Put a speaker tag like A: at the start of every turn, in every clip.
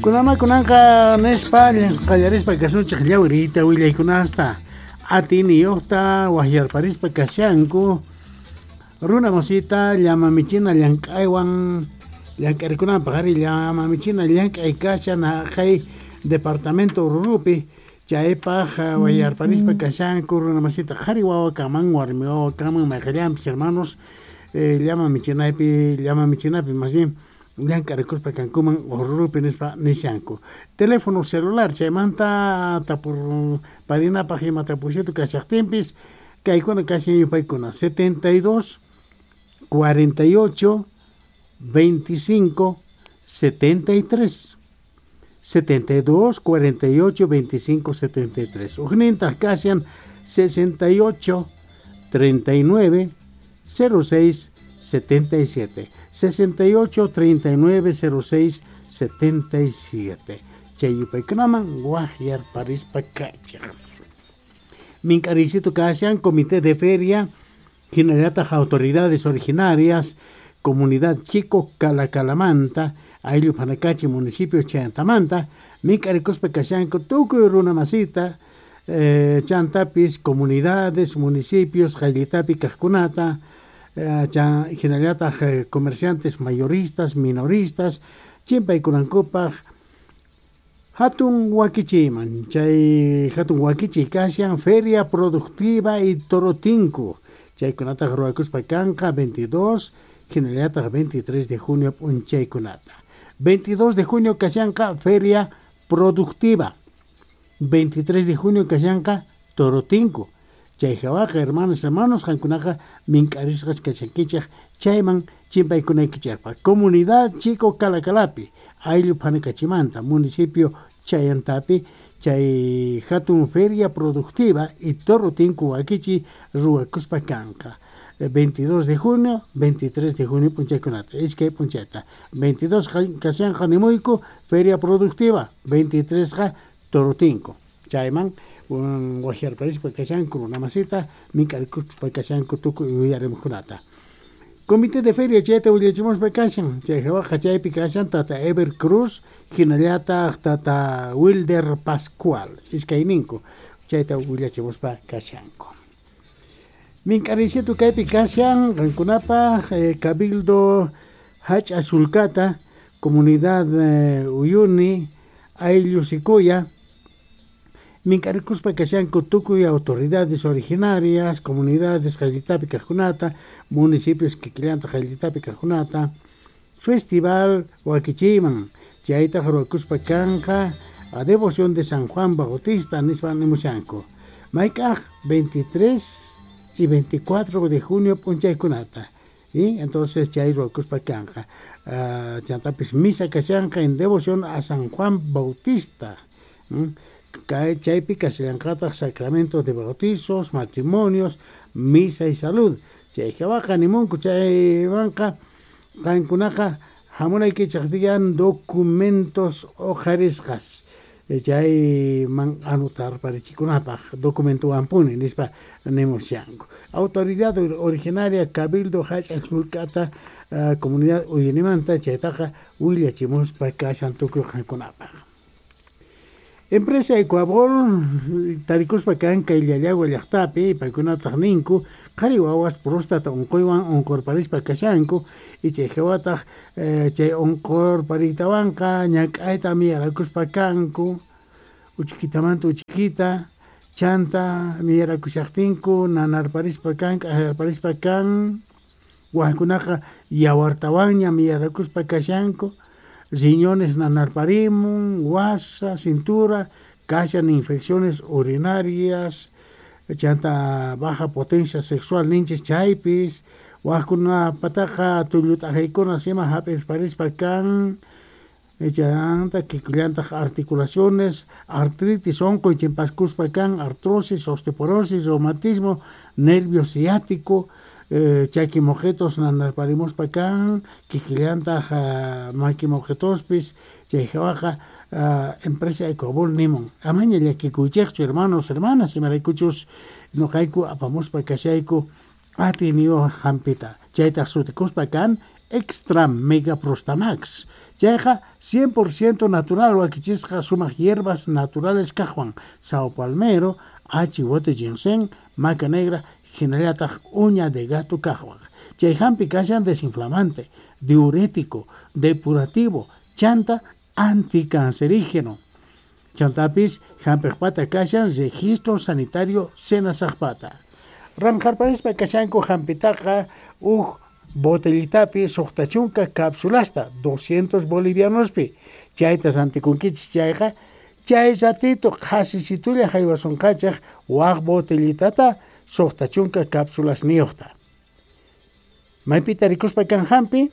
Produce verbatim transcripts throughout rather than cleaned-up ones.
A: Kunamakunanqa nispa qallarispa kasunchik llawrita willaykunasta atiniyuqta wahyarparispa kashanku runa masita llama michina llank'aywan llank'arikunanpaq ari llama michina llank'ay kashan haqay departamento Oruropi chaypaq wahyarparispa kashanku runa masita qhari wawa kaman warmi wawa kaman mayqillanpis hermanos llama michinaypi llama michinapi más bien llank'arikuspa kankuman Oruropi nispa nishanku teléfono celular chaymanta tapur parinapaq ima tapusitu kashaqtinpis kaykuna kashan yupaykuna setenta y dos cuarenta y ocho veinticinco setenta y tres setenta y dos cuarenta y ocho veinticinco setenta y tres ujnintaq kashan sesenta y ocho treinta y nueve cero seis setenta y siete sesenta y ocho treinta y nueve cero seis setenta y siete chay yupaykunaman wahyarparispa kachaq mink'ariysitu kashan comité de feria hinallataq autoridades originarias comunidad Chico Calacalamanta ayllu Panacachi municipio Chayantamanta mink'arikuspa kashanku tukuy runa masita eh, chantapis comunidades municipios qayllitapi kaqkunata eh, hinallataq eh, comerciantes mayoristas minoristas chimpaykunankupaq hatun wakichiyman chay hatun wakichiy kashan feria productiva y torotinku chaykunataq ruwakuspa kanqa veintidós hinallataq veintitrés de junio p'unchaykunata veintidós de junio kashanqa feria productiva veintitrés de junio kashanqa torotinku chay hawaqa hermanos hermanos qankunaqa mink'arisqas kashankichaq chayman chimpaykunaykichaqpaq comunidad Chico Calacalapi ayllu Phanakachimanta municipio Chayantapi chay hatun feria productiva y torotinku wakichi ruwakuspa kanqa veintidós de junio veintitrés de junio p'unchaykunata iskay p'unchayta veintidós kashanqa nimuyku feria productiva veintitrés qa torotinku chayman wahyarparispa kashanku runa masita mink'arikuspa kashanku tukuy yuyarimuqkunata comité de feria chayta willachimuspa kashan chay hawaqa chaypi kashan tata Ever Cruz hinallataq tata Wilder Pascual iskayninku chayta willachimuspa kashanku mink'ariysitu kaypi kashan qankunapaq eh, Cabildo Hach'a Sulkata comunidad eh, Uyuni ayllu Sikuya mink'arikuspa kashanku tukuy autoridades originarias comunidades qayllitapi kaqkunata municipios kikillantaq qayllitapi kaqkunata festival wakichiyman chaytaq ruwakuspa kanqa a devoción de San Juan Bautista nispa nimushanku mayk'aq veintitrés y veinticuatro de junio p'unchaykunata y entonces chay ruwakuspa kanqa uh, chantapis misa kashanqa en devoción a San Juan Bautista ¿Mm? Chaypi kashallanqataq sacramento de bautizos, matrimonios, misa y salud. Chay hawaqa nimunku chaywanqa qankunaqa hamunaykichaq digan documentos uqharisqas chayman anotarparichikunapaq documentowanpuni nispa nimushanku. Autoridad originaria Cabildo Hach'a Sulkata uh, comunidad Uyunimanta chaytaqa willachimuspa kashan tukuy qankunapaq. Empresa Ecuabol tarikuspa kan kay Llallagua llaqtapi paykunataq ninku qhari wawas próstata unquywan unqurparispa kashanku y chay hawataq eh, chay unqurpariytawanqa ñak'ayta miyarakuspa kanku uchikitamanta uchikita chanta miyarakushaqtinku nanarparispa kan k'ajarparispa kan wajkunaqa yawartawanña miyarakuspa kashanku riñones nanarparimun, wasa, cintura, kashan infecciones urinarias, chanta baja potencia sexual ninchis chaypis, wajkunapataqa tullut'ajaykuna sima hap'irparispa kan, chanta kikillantaq articulaciones, artritis unquy chimpaskuspa kan, artrosis, osteoporosis, reumatismo, nervio ciático, Eh, chaki mojetos nanarparimuspa kan kikillantaq uh, maki mojetospis chay hawaqa uh, empresa Ecuabol nimun amaña llakikuychikchu hermanos hermanas imaraykuchus noqayku apamuspa kashayku atiyniyuq hampita chaytaq sutikuspa kan extra mega prostamax chayqa cien por ciento natural wakichisqa sumaq hierbas naturales kaqwan sao palmero, achiwote ginseng, maca negra, hinallataq uña de gato kaqwan. Chay hampi kashan desinflamante, diurético, depurativo, chanta anticancerígeno. Chantapis hampiqpata kashan registro sanitario senasaqpata. Ranqarparispa kashanku hampitaqa uj botellitapi suqta chunka cápsulasta doscientos bolivianospi. Chayta rantikunkichis chayqa chay ratito qhasisitulla haywasunqachaq waq botellitata suqta chunka cápsulasniyuqta. Maypita rikuspa kan hampi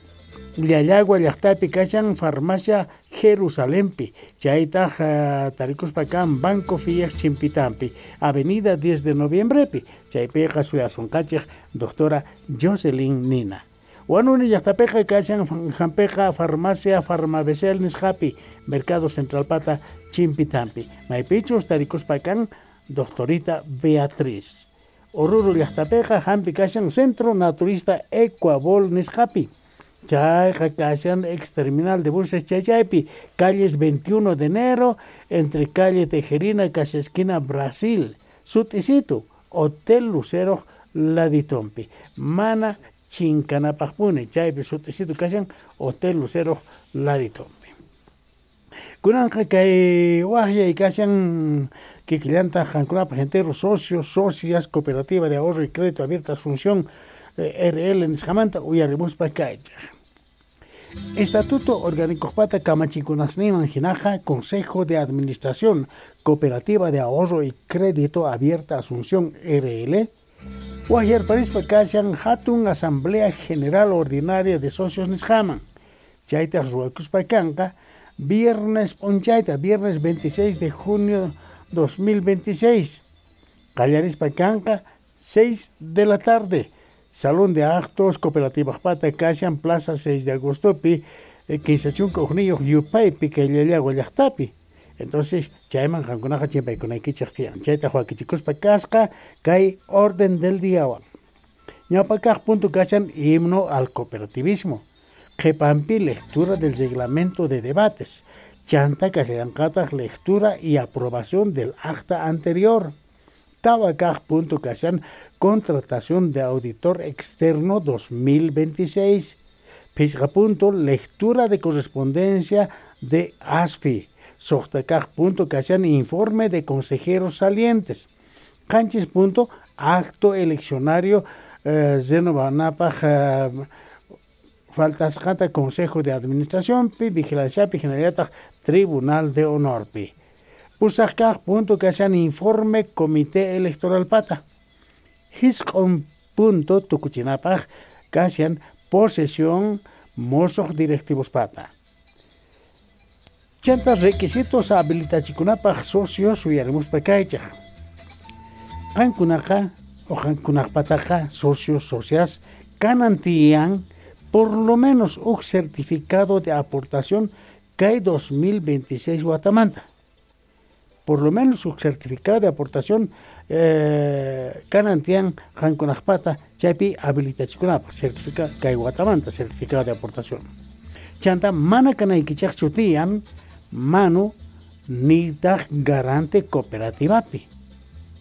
A: Llallagua llaqtapi kashan farmacia Jerusalempi, chaytaq uh, tarikuspa kan Banco Fiat Chimpitampi, Avenida diez de Noviembrepi, chaypiqa suyasunqachik doctora Jocelyn Nina. Huanuni llaqtapiqa kashan hampiqa farmacia Farmabecel nisqapi, Mercado Central Pata Chimpitampi, maypichus tarikuspa kan doctorita Beatriz. Oruro llaqtapiqa hampi kashan Centro Naturista Ecuabol nisqapi. Chayqa kashan ex terminal de buses Chaychaypi, calles veintiuno de enero, entre calle Tejerina, casi esquina Brasil, Sutisito, Hotel Lucero, Laditompi, Mana Chincanapajpune, Chaypi, Sutisito, kashan Hotel Lucero, Laditompi. Kunanqa kay waqyay kashan kikillanta qankunapaq entero socios, socias, Cooperativa de Ahorro y Crédito Abierta Asunción, R L nisqamanta uyarimuspa kaychaq. Estatuto Orgánico Pata Kamachikunasniman hinaqa Consejo de Administración Cooperativa de Ahorro y Crédito Abierta Asunción R L waqyarparispa kashan hatun Asamblea General Ordinaria de Socios nisqaman. Chaytaq ruwakuspa kanqa viernes p'unchayta, viernes veintiséis de junio dos mil veintiséis. Qallarispa kanqa seis de la tarde. Salón de Actos Cooperativa Pata kashan Plaza seis de Agostopi, kinsa chunka hukniyuq yupaypi kay Llallagua llaqtapi. Entonces, chayman qankunaqa chimpaykunaykichik tiyan. Chayta wakichikuspa kasqa kay orden del diawan. Ñawpa kaq punto kashan himno al cooperativismo. Qhipanpi lectura del reglamento de debates. Chanta kashanqataq lectura y aprobación del acta anterior. Tawa kaq punto kashan contratación de auditor externo dos mil veintiséis. Pichqa punto lectura de correspondencia de A S F I. Suqta kaq punto kashan informe de consejeros salientes. Qanchis punto acto eleccionario eh, renovanapaq eh, faltasqata Consejo de Administración pi vigilancia pi hinallataq Tribunal de Honor pi. Pusaq kaq punto kashan informe Comité Electoral pata. Hisq'un punto tukuchinapaq kashan posesión mosoq directivos pata. Chanta requisitos habilitachikunapaq socios uyarimuspa kaychaq. Qankunaqa o qankunaqpataqa socios socias kanan tiyan por lo menos un certificado de aportación kay dos mil veintiséis watamanta. Por lo menos un certificado de aportación eh, kanan tiyan qankunaqpata chaypi habilitachikunapaq certificado kay watamanta certificado de aportación. Chanta mana kanaykichaqchu tiyan manu nitaq garante cooperativapi.